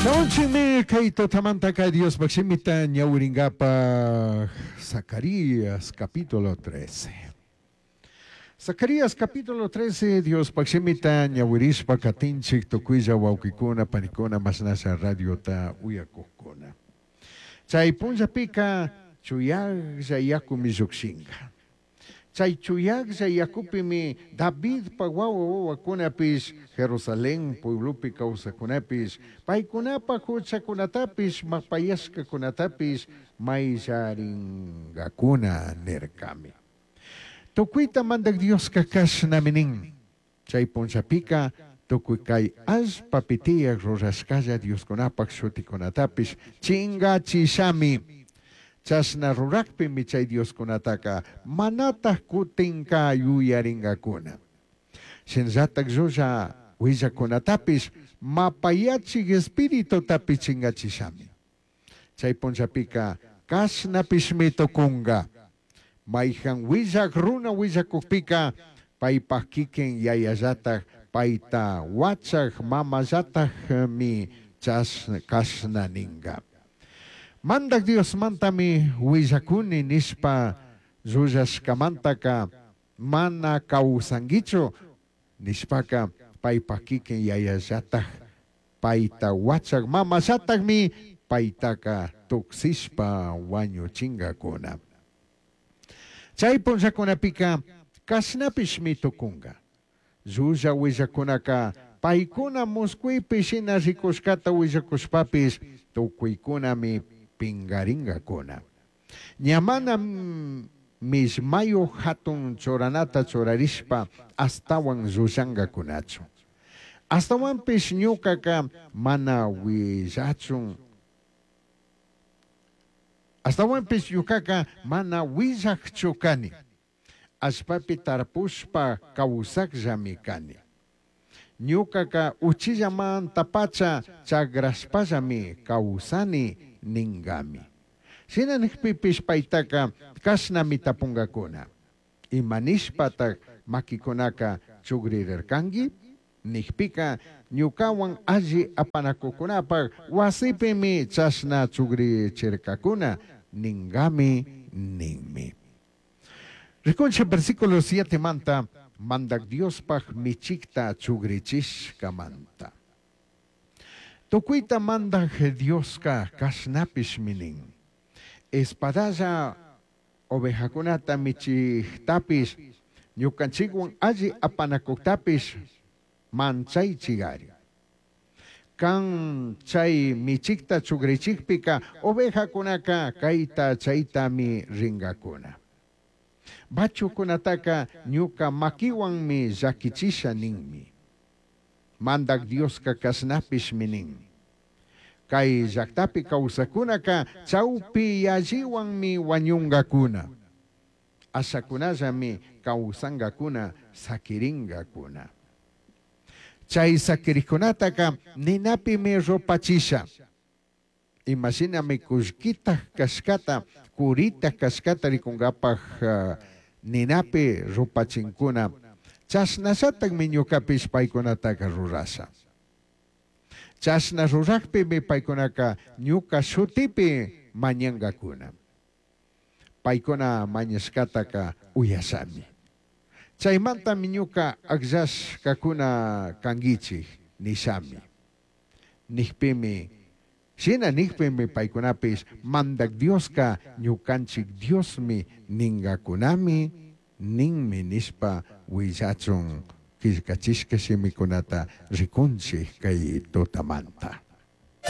Shamunchikmi kay tutamantaka Diospaj shimita ñawiringapaj Zacarías capítulo 13. Zacarías capítulo 13 Diospaj shimita ñawirishpa katinchik tukuylla wawkikuna panikuna mashnasha radiota uyakukuna. Chay punllapika chuyajlla yakumi llukshinka. Chay chuyajlla yakupimi Davidpa wawa wawakunapish Jerusalén pueblopi kawsakkunapish paykunapaj huchakunatapish mapayashkakunatapish mayllaringakuna nirkami. Tukuyta Mandak Dioska kashnami nin. Chay punllapika tukuy kay allpapi tiyaj rurashkalla dioskunapaj shutikunatapish chingachishami. Chashna rurakpimi chay dioskunataka manataj kutinka yuyaringakuna. Shinallataj llulla huillacunatapish mapayachij espiritutapish chingachishami. Chay punllapika kashnapishmi tukunga. Mayjan huillaj runa huillakujpika paypaj kikin yayallataj payta wachaj mamallatajmi kashna ninga. Mandak Diosmantami huillakuni nishpa llullashkamantaka mana kawsankichu nishpaka paypaj kikin yayallataj payta wachaj mamallatajmi paytaka tuksishpa wañuchinkakuna. Chay punllakunapika kashnapishmi tukunka. Llulla huillakunaka paykuna muskuypi shina rikushkata huillakushpapish tukuykunami pingarinkakuna. Ña mana millmayuj hatun churanata churarishpa ashtawan llullankakunachu. Ashtawanpish ñukaka mana huillachun. Ashtawanpish ñukaka mana huillajchu kani. Allpapi tarpushpa kawsakllami kani. Ñukaka uchillamantapacha chagrashpallami kawsani ninkami. Shina nijpipish paytaka kashnami tapunkakuna. Ima nishpataj makikunaka chugririrkanki? Nijpika ñukawan alli apanakukunapaj wasipimi chashna chugrichirkakuna ninkami ninmi. Rikunchik versículo 7 manta Mandak Diospaj michikta chugrichishkamanta. Tukuyta Mandak Dioska kashnapishmi nin. Espadalla ovejakunata michiktapish ñukanchikwan alli apanakuktapish manchaychigari. Kan chay michikta chugrichikpika ovejakunaka kayta chaytami ringakuna. Bachukunataka ñuka makiwanmi llakichisha ninmi. Mandak Dioska kashnapishmi nin. Kay llaktapi kawsakunaka chawpi yalliwanmi wañunkakuna. Ashakunallami kawsankakuna sakirinkakuna. Chay sakirikunataka ninapimi rupachisha. Imashinami kullkita kashkata, kurita kashkata rikunkapaj ninapi rupachinkuna. Chashnallatakmi ñukapish paykunataka rurasha. Chashna rurakpimi paykunaka ñuka shutipi mañankakuna. Paykuna mañashkataka uyashami. Chaymantami ñuka akllashkakuna kankichik nishami. Nijpimi, shina nijpimi paykunapish Mandak Dioska ñukanchik Diosmi ninkakunami ninmi nishpa huillachun killkachishka shimikunata rikunchik kay tutamanta.